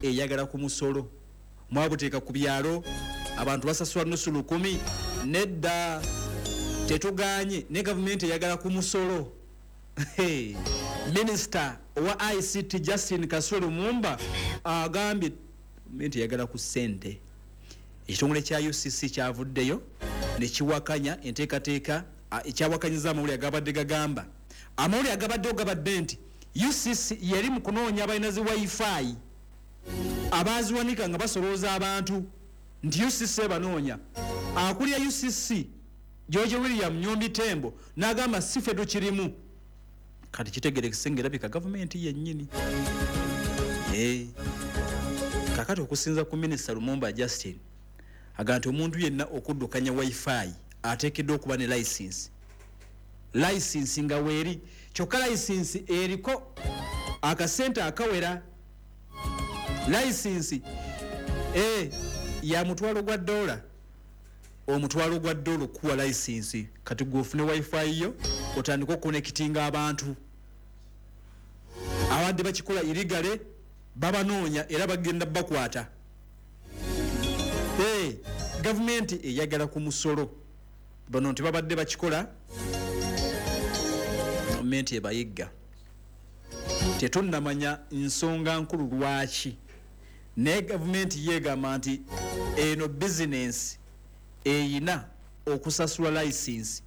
Eyagala ku musolo mwabuteeka ku byalo, abantu basasula nusu lukumi. Nedda, tetuganye, ne gavumenti eyagala ku musolo. Minisita owa ICT Justin Kasule Lumumba agambye gavumenti eyagala ku ssente. Ekitongole kya UCC kyavuddeyo nekiwakanya enteekateeka, ekyawakanyiza amawulire agabadde gagamba, amawulire agabaddewo gabadde nti UCC yali mu kunoonya abalina zi WiFi abaziwanika nga basolooza abantu, nti UCC ebanoonya. Akulira UCC George William Nyombi Tembo n'agamba si ffe tukirimu. Kati kitegerekese ng'erabika gavumenti yennyini. Kakati okusinza ku minisita Lumumba Justin, agamba nti omuntu yenna okuddukanya WiFi ateekeddwa okuba ne license, license nga weeri, kyokka license eriko akasente akawera. License ya $1,000, $1,000 okuwa license. Kati gwe ofune WiFi yo otandike okuconnectinga abantu. Abadde bakikola illegally babanoonya era bagenda bakwata. Gavumenti eyagala ku musolo. Bano nti babadde bakikola, gavumenti ebayigga. Tetunnamanya nsonga nkulu lwaki, naye gavumenti yeegamba nti eno bizinensi eyina okusasula license.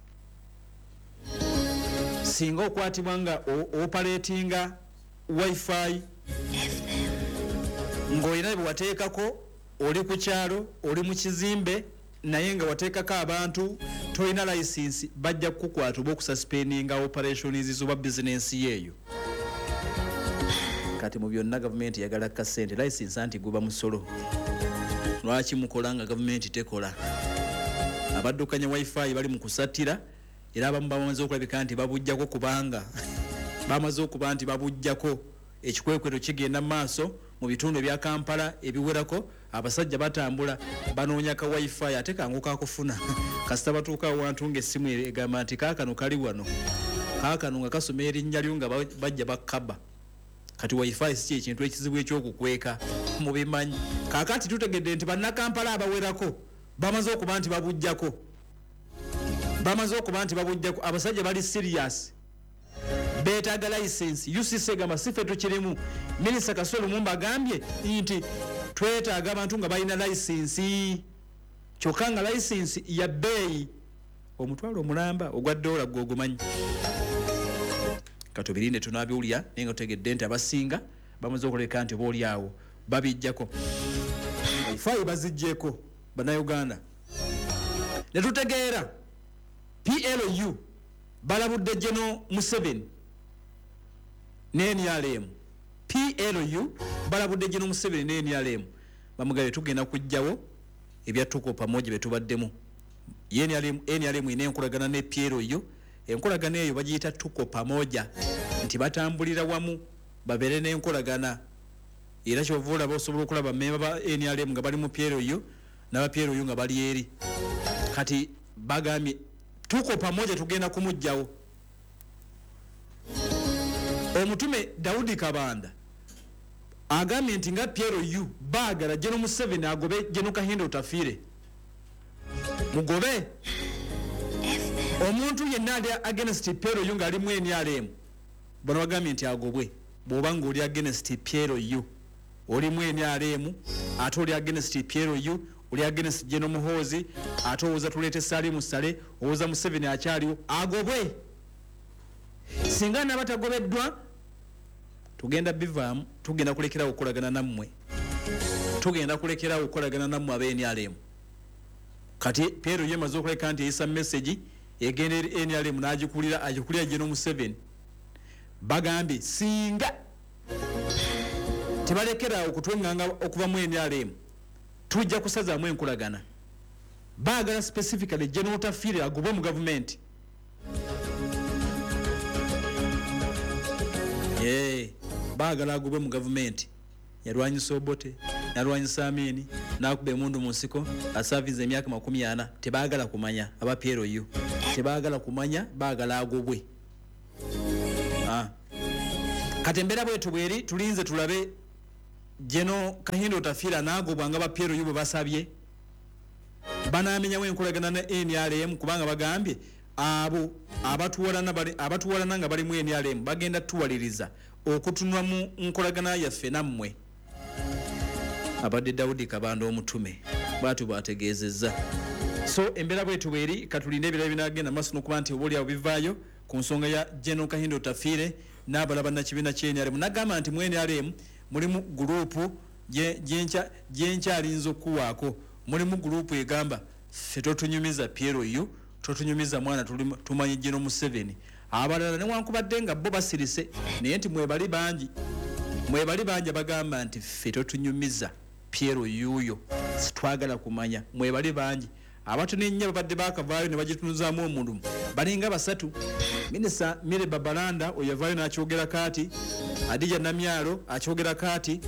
Singa okwatibwa nga operatinga WiFi ng'olina bye wateekako, oli ku kyalo, oli mu kizimbe, naye nga wateekako abantu, tolina license, bajja kukukwata oba okususpendinga operations oba bizinensi yeeyo. Kati mu byonna gavumenti eyagala kasente. License anti guba musolo. Lwaki mukola nga gavumenti tekola? Abaddukanya WiFi bali mu kusattira, era abamu bamaze okulabika nti babujjako, kubanga bamaze okuba nti babujjako. Ekikwekweto kigenda mu maaso mu bitundu ebya Kampala ebiwerako. Abasajja batambula banoonya ka WiFi, ate kangu kakufuna kasita batuuka awantu ng'essimu egamba nti kaakano kali wano, kaakano nga kasoma erinnya lyo nga bajja bakkaba. Kati WiFi si kyekintu ekizibu ekyokukweka, mubimanyi. Kaakati tutegedde nti bannakampala abawerako bamaze okuba nti babujjako, bamaze okuba nti babujjako. Abasajja bali serious, beetaaga license. UCC egamba si ffe tukirimu. Minisita Kasule Lumumba agambye nti twetaaga abantu nga balina license, kyokka nga license ya bbeeyi, $1,000 gwogumanyi. Katubirinde tunabiwulira, naye nga tutegedde nti abasinga bamaze okuleka nti oba oli awo babijjako, WiFi baziggyeko. Bannayuganda, ne tutegeera PLU balabudde General Museveni ne NRM. PLU balabudde General Museveni ne NRM, bamugambye tugenda kujjawo ebya Tuko Pamoja betubaddemu. Ye NRM, NRM ina enkolagana ne PLU, enkolagana eyo bagiyita Tuko Pamoja, nti batambulira wamu babeere n'enkolagana. Era kyova olaba osobola okulaba memba ba NRM nga bali mu PLU n'aba PLU nga bali eri. Kati bagambye Tuko Pamoja tugenda kumugjawo. Omutume Daudi Kabanda agambye nti nga PLU baagala General Museveni agobe General Kahinda Otafiire, mugobe omuntu yenna ali against PLU ng'ali mu NRM. Bano bagambye nti agobwe. Bw'oba ng'oli against PLU, oli mu NRM, ate oli against PLU, oli against General Muhoozi, ate owooza tuleete Salim Saleh, owooza Museveni akyaliwo, agobwe. Singa naaba tagobeddwa, tugenda bivaamu, tugenda kulekerawo okukolagana nammwe, tugenda kulekerawo okukolagana nammwe aba NRM. Kati PLU emaze okuleka nti eyisa message egenda eri NRM n'agikulira, agikulira General Museveni. Bagambye singa tebalekerawo okutweŋŋanga okuva mu NRM, tujja kusazaamu enkolagana. Baagala specifically General Otafiire agobwe mu gavumenti. Baagala agobwe mu gavumenti. Yalwanyisa Obote, nalwanyisa Amini, n'akuba emundu mu nsiko, asaavinze emyaka 40. Tebaagala kumanya, aba PLU tebaagala kumanya, baagala agobwe. Kati embeera bwetu bweri, tulinze tulabe. General Kahinda Otafiire anaagobwa nga ba PLU bwe basabye? Banaamenyawo enkolagana ne NRM kubanga bagambye abo abatuwalana nga bali mu NRM bagenda tuwaliriza okutunula mu nkolagana yaffe nammwe. Abadde Daudi Kabanda omutume bw'atyo bw'ategeezezza. So embeera bwetu bweri, katulinde ebirala binagenda maaso n'okuba nti oba oliawo bivaayo ku nsonga ya General Kahinda Otafiire n'abalala bannakibiina kya NRM. Nagamba nti mu NRM mulimu gurupu gyenkyalinza okuwaako, mulimu gurupu egamba ffe totunyumiza PLU, totunyumiza mwana, tumanyi General Museveni. Abalala newankubadde nga bo basirise, naye nti mwebali bangi abagamba nti ffe totunyumiza PLU yo, sitwagala kumanya. Mwebali bangi abatono ennyo babadde baakavaayo ne bagitunuzaamu omulimu, balinga basatu. Minisita Mire Babalanda oyo yavaayo n'akyogera kaati, Hadija Namyalo akyogera kaati,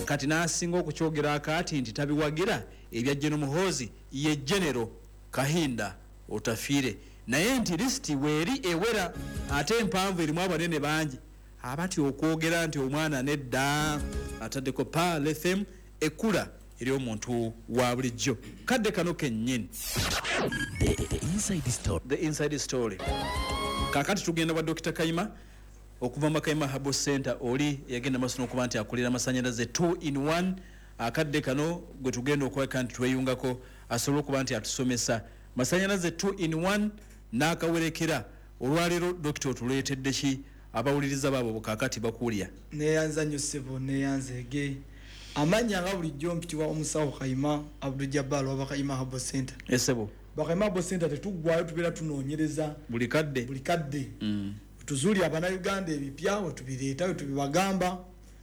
kati n'asinga okukyogera kaati nti tabiwagira ebya General Muhoozi ye General Kahinda Otafiire, naye nti lisiti weeri ewera ate empanvu erimu abanene bangi abatya okwogera nti omwana nedda. Ataddeko Pearl FM ekkula eri omuntu wa bulijjo. Kadde kano kennyini. The Inside Story. The Inside Story. Kaakati tugenda wa Dr. Kayima okuva mu Kayima Herbal Center, oli yagenda maaso n'okuba nti akulira amasannyalaze 2 in 1. Akadde kano gwe tugenda okweka nti tweyungako asobole okuba nti atusomesa masannyalaze 2 in 1 n'akawerekera. Olwaleero Dokita otuleetedde ki abawuliriza baabo kaakati bakuwulya? Neeyanza nnyo ssebo, neeyanzeege. Amannya nga bulijjo mpitibwa omusawo Kayima Abdul Jabbar wa Bakayima Herbal Center. Esebo. Bakayima Herbal Center tetuggwayo, tubeera tunoonyereza buli kadde. Buli kadde. Tuzuuli Abannayuganda ebipya wetubireeta wetubibagamba.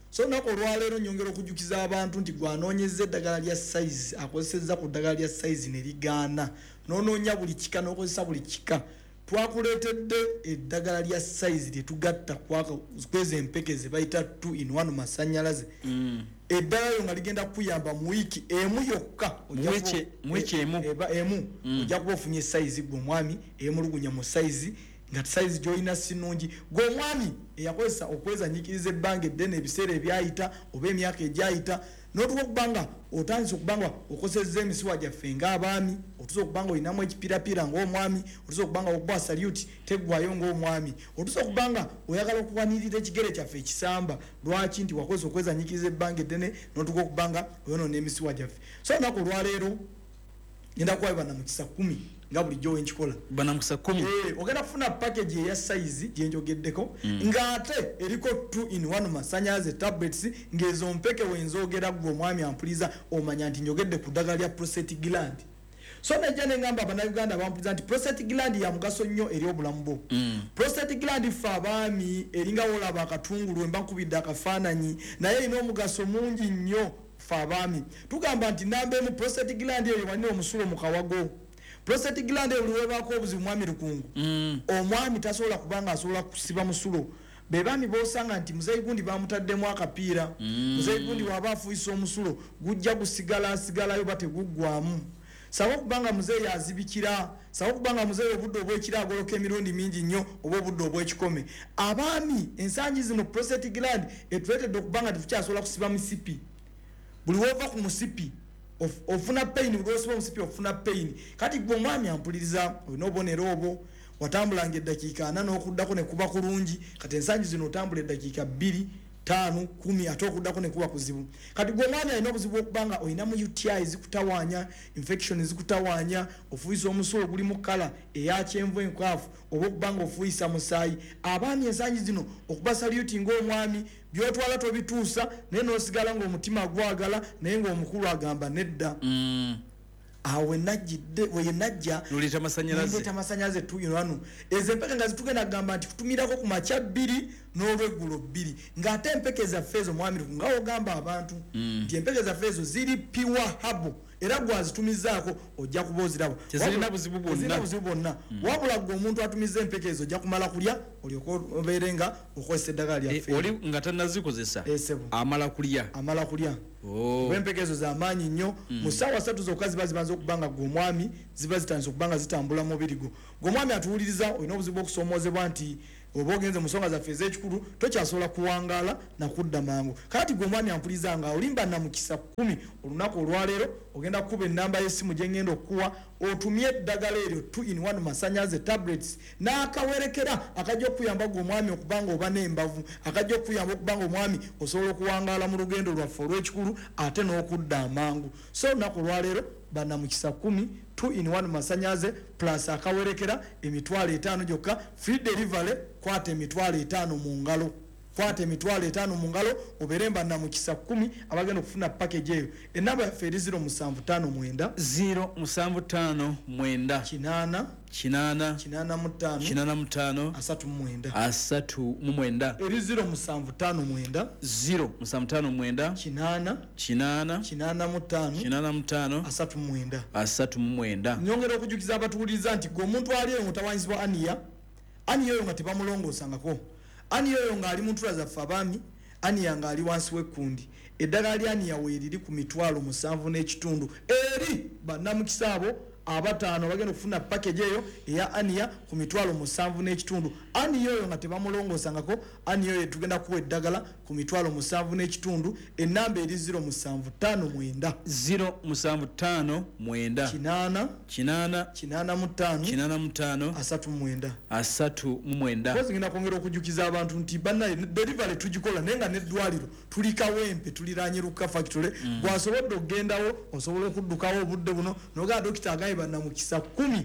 So olunaku olwaleero nyongera okujjukiza abantu nti gwanoonyeza eddagala lya size, akozesezza ku ddagala lya size ne ligaana, n'onoonya buli kika n'okozesa buli kika. Twakuleetedde eddagala lya size lye tugatta kweza empeke ze bayita 2 in 1 masannyalaze. Eddagala lyo nga ligenda kukuyamba mu wiiki emu yokka. Mu wiiki emu? Emu. Ojja kuba ofunye size gwe omwami eyemulugunya mu size, nga size gy'olina si nnungi. Gwe omwami eyakozesa okwezanyiikiriza ebbanga eddene ebiseera ebyayita oba emyaka egyayita, n'otuuka okuba nga otandise okuba nga okozesezza emisuwa gyaffe ng'abaami, otuuse okuba nga olinamu ekipirapira ng'omwami, otuuse okuba nga okuba salute teggwayo ng'omwami, otuuse okuba nga oyagala okuwanirira ekigere kyaffe ekisamba. Lwaki? Nti wakozesa okwezanyiikiriza ebbanga eddene n'otuuka okuba nga oyonoona emisuwa gyaffe. So olunaku olwaleero ngenda kuwayo bannamukisa 10 nga bulijjo wenkikola. Bannamukisa 10? Ogenda kufuna package eya size gye njogeddeko, ng'ate eriko 2 in 1 masannyalaze tablets, ng'ezo mpeke wenzogera ggwe omwami ampuliza omanya nti njogedde ku ddagala lya prostate gland. So nejja ne ngamba Abannayuganda bampuliza nti prostate gland ya mugaso nnyo eri obulamu bwo. Prostate gland ffe abaami eringa w'olaba akatungulu, emba nkubidde akafaananyi, naye erina omugaso mungi nnyo ffe abaami. Tugamba nti namba emu, prostate gland eyo walina omusulo mu kawago. Prostate gland eyo buli webaako obuzibu mwami Lukungu, omwami tasobola kubanga asobola kusiba musulo. Be baami b'osanga nti muzeeyi gundi bamutaddemu akapiira, muzeeyi gundi bw'aba afuuyisa omusulo gujja gusigala asigalayo bateguggwamu. Sawa okubanga muzeeyi azibikira, sawa okubanga muzeeyi obudde obw'ekiro agoloka emirundi mingi nnyo oba obudde obw'ekikome. Abaami ensangi zino prostate gland etuleetedde okubanga tetukyasobola kusiba misipi. Buli w'ova ku musipi ofuna pain, buli lw'osiba omusipi ofuna pain. Kati gwe omwami ampuliriza olina obubonero obwo, watambulanga eddakiika 4 n'okuddako ne kuba kulungi, kati ensangi zino otambula eddakiika 2, 5, 10 ate okuddako ne kuba kuzibu. Kati gwe omwami alina obuzibu okubanga olinamu UTI zikutawaanya, infection zikutawaanya, ofuuyisa omusulo oguli mu kkala eya kyenvu enkwafu oba okubanga ofuuyisa musaayi. Abaami ensangi zino okuba saluti ng'omwami by'otwala tobituusa, naye n'osigala ng'omutima gwagala, naye ng'omukulu agamba nedda. Awo we najja Nuleeta masannyalaze. Nuleeta masannyalaze 2 in 1. Ezo empeke nga zitugenda kugamba nti kutumirako ku makya 2 n'olweggulo 2, ng'ate empeke zaffe ezo mwami Lukungu nga w'ogamba abantu nti empeke zaffe ezo ziri pure herbal, era gw'azitumizaako ojja kuba oziraba. Tezirina buzibu bwonna. Tezirina buzibu bwonna. Wabula ggwe omuntu atumiza empeke ezo ojja kumala kulya olyoke obeere nga okozesa eddagala lyaffe. Oli nga tannazikozesa, Ssebo. amala kulya. Amala kulya. Kuba empeke ezo za maanyi nnyo. Mu ssaawa 3 zokka ziba zibanze okuba nga ggwe omwami ziba zitandise okuba nga zitambula mu mubiri gwo. Ggwe omwami atuwuliriza olina obuzibu bw'okusoomoozebwa nti Oba ogenze mu nsonga zaffe ez'ekikulu, tokyasobola kuwangaala nakudda mangu. Kati gwe omwami ampuliza nga olimba namukisa 10 olunaku olwaleero, ogenda kukuba ennamba y'essimu gye ngenda okukuwa, otumye eddagala eryo 2 in 1 masannyalaze tablets n'akawerekera akajja okuyamba gwe omwami okuba nga oba n'embavu, akajja okuyamba okuba nga omwami osobola okuwangaala mu lugendo lwaffe olw'ekikulu ate n'okudda amangu. So olunaku olwaleero bannamukisa 10, 2 in 1 masannyalaze plus akawerekera 50,000 gyokka, free delivery. Kwata 50,000 mu ngalo, kwata 50,000 mu ngalo, obeere bannamukisa 10 abagenda okufuna package eyo. Enamba yaffe eri 0759 0759 8 8 85 85 39 39. Eri 0759 0759 8 8 85 85 39. 39. Nyongera okujukiza abatuwuliriza nti gwe omuntu ali eyo ng'otawanyizibwa aniya, aniya oyo nga tebamulongoosangako, aniya oyo ng'ali mu ntula zaffe abaami, aniya ng'ali wansi w'ekkundi, eddagala lya aniya weeriri ku 7,500 eri bannamukisa abo abataano bagenda okufuna package eyo eya aniya ku 7,500. Aniya oyo nga tebamulongoosangako, aniya oyo tugenda kuwa eddagala ku 7,500. Enamba eri 0759 0759 8 8 85 85 39. 39. Kozi ngenda kwongera okujukiza abantu nti bannaye delivery tugikola, naye nga n'eddwaliro tuli Kawempe, tuliraanye Lukka Factory. Bw'asobodde okugendawo, osobola okuddukawo obudde buno nogaa dokita agambye bannamukisa 10,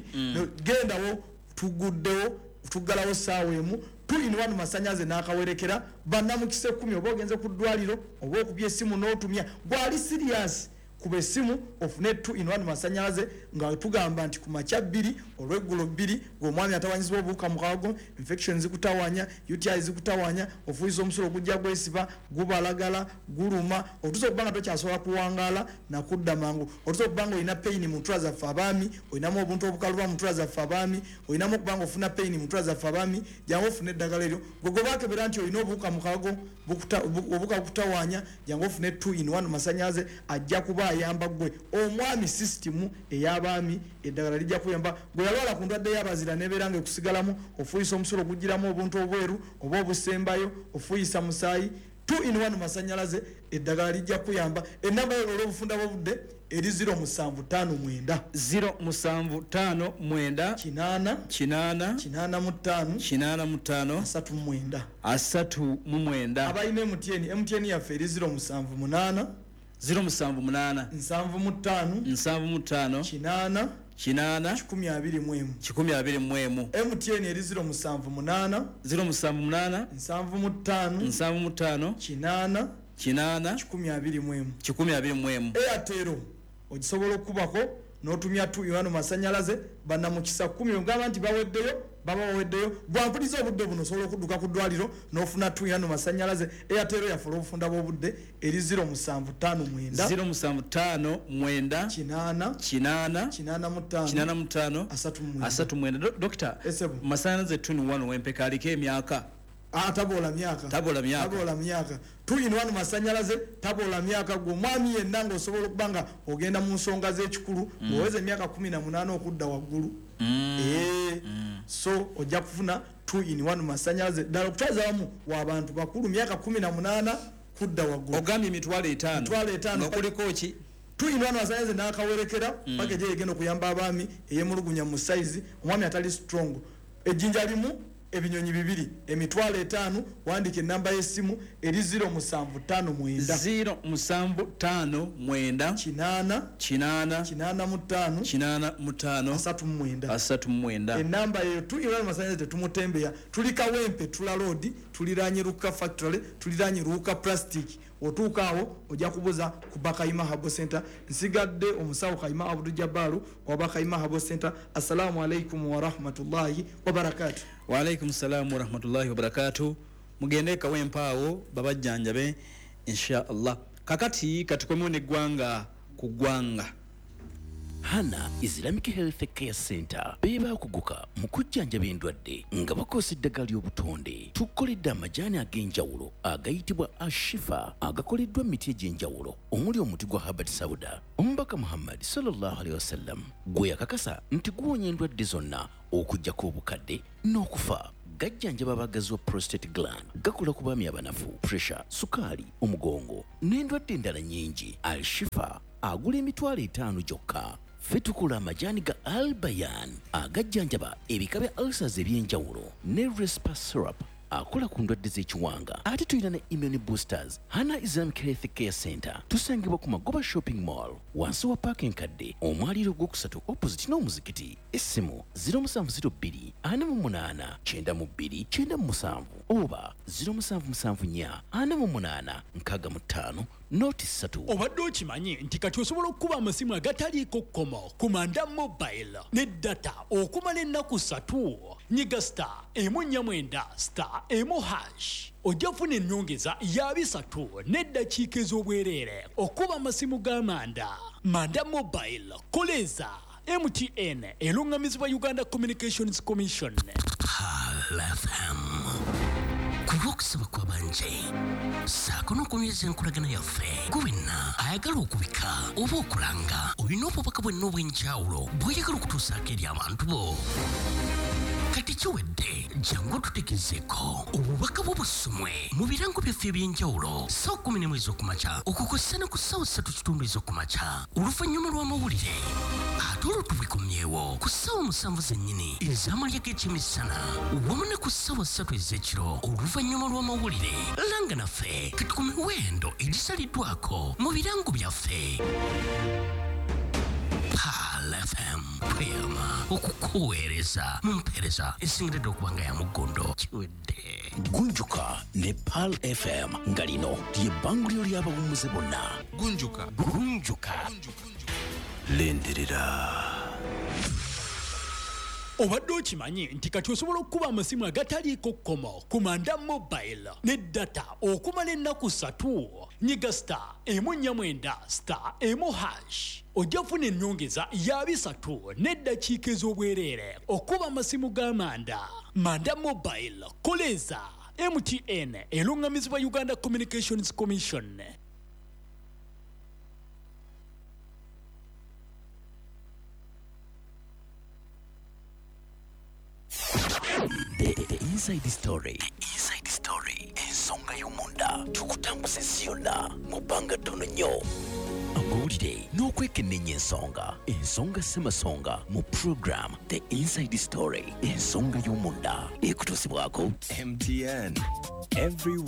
gendawo, tuguddewo, tuggalawo ssaawa 1. 2 in 1 masannyalaze n'akawerekera bannamukisa 10. Oba ogenze ku ddwaliro oba okubya essimu n'otumya, gwali serious, kuba essimu ofune 2 in 1 masannyalaze nga tugamba nti ku makya 2, olweggulo 2. Ng'omwami atawanyizibwa obuwuka mu kawago, infection zikutawanya, UTI zikutawanya, ofuuyisa omusulo gujja gwesiba, gubalagala, guluma, otuusa okuba nga tokyasobola kuwangaala nakudda mangu, otuusa okuba nga olina pain mu ntula zaffe abaami, olinamu obuntu obukaluba mu ntula zaffe abaami, olinamu okuba nga ofuna pain mu ntula zaffe abaami, jangu ofune eddagala eryo. Gwe gwe bakebera nti olina obuwuka mu kawago, obuwuka bukutawanya, jangu ofune 2 in 1 masannyalaze, ajja kuba ayamba gwe omwami. Sisitimu ey'abaami eddagala lijja kuyamba gwe yalwala ku ndwadde y'abazira nebeera nga ekusigalamu, ofuuyisa omusulo gugiramu obuntu obweru oba obusembayo, ofuuyisa musaayi, 2 in 1 masannyalaze eddagala lijja kuyamba. Enamba yo olw'obufunda bw'obudde eri 0759 0759 8 8 85 85 39. 39. Abalina MTN, MTN yaffe eri 078 078 75 75 8 8 121. 121. MTN eri 078 078 75 75 8 8 121. 121. Airtel ogisobola okukubako n'otumya 2 in 1 masannyalaze bannamukisa 10. Ogamba nti baweddeyo, baba baweddeyo. Bwampuliza obudde buno, osobola okudduka ku ddwaliro n'ofuna 2 in 1 masannyalaze. Airtel yaffe olw'obufunda bw'obudde eri 0759 0759 8 8 85 85 39. 39. Dokita, Esebo. masannyalaze 2 in 1 wempeka aliko emyaka? Tabola myaka. Tabola myaka. Tabola myaka. 2 in 1 masannyalaze tabola myaka. Gwe omwami yenna ng'osobola okuba nga ogenda mu nsonga z'ekikulu, ng'oweza emyaka 18 okudda waggulu, so ojja kufuna 2 in 1 masannyalaze ddala okutwaliza wamu w'abantu bakulu, myaka 18 kudda waggulu. Ogambye 50,000. 50,000. Nga kuliko ki? 2 in 1 masannyalaze n'akawerekera, package eyo egenda okuyamba abaami ey'emulugunya mu size, omwami atali strong. Ejjinja limu ebinyonyi bibiri, 50,000. Wandika enamba y'essimu eri 0759 0759 8 8 85 85 39. 39. Enamba eyo 2 in 1 masannyalaze tetumutembeya. Tuli Kawempe, tula road, tuliranye Luka Factory, tuliranye Luka Plastic. Otuuka awo ojja kubuza ku Bakayima Herbal Center. Nsigadde omusawo Kayima Abdu Jabbalu wa Bakayima Herbal Center. Assalamu alaikum warahmatullahi wabarakatu. Waalaikum salaamu warahmatullahi wabarakatu. Mugende Kawempe awo babajjanjabe insha Allah. Kakati katukomewo neggwanga ku ggwanga. Hana Islamic Health Care Center beebaakuguka mu kujjanjaba endwadde nga bakozesa eddagala ly'obutonde. Tukoledde amajaani ag'enjawulo agayitibwa Ashifa, agakoleddwa mu miti egy'enjawulo omuli omuti gwa Habbat Sauda, omubaka Muhammad sallallahu alaihi wasallam gwe yakakasa nti guwonya endwadde zonna okuggyako obukadde n'okufa. Gajjanjaba abagazi wa prostate gland, gakola ku baami abanafu, pressure, sukaali, omugongo n'endwadde endala nnyingi. Al Shifa agula 50,000 gyokka. Ffe tukola amajaani ga Albayan agajjanjaba ebika bya ulcers ebyenjawulo ne Respa syrup akola ku ndwadde z'ekiwanga. Ate tulina ne immune boosters. Hana Islamic Health Care Center tusangibwa ku Magoba Shopping Mall, wansi wa paaka enkadde, omwaliiro ogwokusatu, opposite n'omuzikiti. Essimu 0702 48 92 97 oba 0774 48 65 03. Obadde okimanyi nti kati osobola okukuba amasimu agataliiko kkomo ku Manda Mobile ne data okumala ennaku 3? Nyiga star 149 star 1 hash, ojja kufuna ennyongeza ya 3 n'eddakiika ez'obwereere okuba amasimu ga Manda. Manda Mobile, koleza MTN, eruŋŋamizibwa Uganda Communications Commission. Pearl FM, ku lw'okusaba kw'abanje ssaako n'okunyweza enkolagana yaffe, gwe wenna ayagala okubika oba okulanga, olina obubaka bwenna obw'enjawulo bw'oyagala okutuusaako eri abantu bo, kati kiwedde. Jangu otutegezeeko obubaka bwo busomwe mu birango byaffe ebyenjawulo ssaawa 11 ez'okumakya okukossa ne ku ssaawa 3:15 ez'okumakya oluvannyuma lw'amawulire, ate olwo tubikomyewo ku ssaawa 7 zennyini ez'amalya g'ekyemisana wamu ne ku ssaawa 3 ez'ekiro oluvannyuma lw'amawulire. Langa naffe kati ku miwendo egisaliddwako mu birango byaffe. Pearl FM, tweyama okukuweereza mu mpeereza esingiridde okuba nga ya muggondo. Kiwedde. Gunjuka ne Pearl FM, nga lino lye bbanguliro ly'abawummuze bonna. Gunjuka. Gunjuka. Lindirira. Obadde okimanyi nti kati osobola okukuba amasimu agataliiko kkomo ku Manda Mobile ne data okumala ennaku 3? Nyiga star 149 star 1 hash, ojja kufuna ennyongeza ya 3 n'eddakiika ez'obwereere okuba amasimu ga Manda. Manda Mobile, koleza MTN, eruŋŋamizibwa Uganda Communications Commission. The Inside Story. The Inside Story. Ensonga y'omunda tukutambuza ensi yonna mu bbanga ttono nnyo. Amawulire n'okwekenneenya ensonga. Ensonga ssemasonga mu program The Inside Story. Ensonga y'omunda ekutuusibwako MTN. Everywhere.